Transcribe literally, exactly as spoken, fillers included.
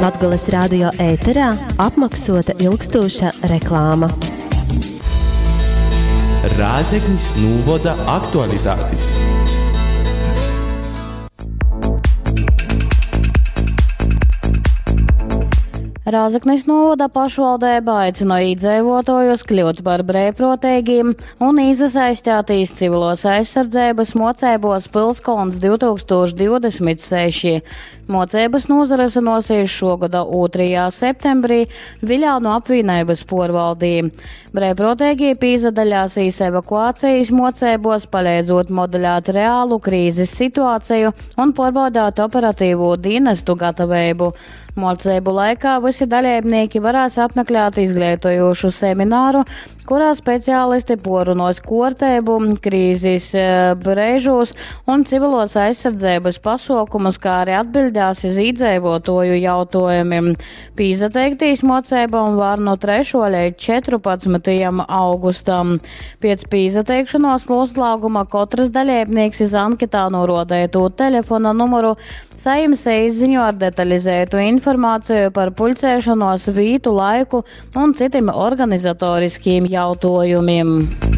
Latgales radio ēterā apmaksota ilgstoša reklāma. Rēzeknis nūvoda aktualitātis. Rēzeknis novada pašvaldība aicina iedzīvotājus kļūt par brīvprātīgiem un iesaistīties civilos aizsardzības mocībos Pilskolns divtūkstoš divdesmit seši. Mocības norisināsies šogada otrajā septembrī Viļānu apvienības porvaldī. Brīvprātīgie pīzadaļāsīs evakuācijas mocībos, palīdzot modelēt reālu krīzes situāciju un pārbaudāt operatīvo dienestu gatavību. Mocību laikā visi dalībnieki varēs apmeklēt izglītojošu semināru, kurā speciālisti porunos kortēbu, krīzes eh, brēžūs un civilos aizsardzības pasaukumus, kā arī atbildās iz iedzīvotoju jautājumiem. Pīzateiktīs mocībām var no trešā līdz četrpadsmitajam augustam. Pēc pīzateikšanos noslēguma katrs dalībnieks iz anketā norodētu telefona numuru sajims īsziņu ar detalizētu informāciju par pulcēšanos vītu laiku un citiem organizatoriskiem jautājumiem.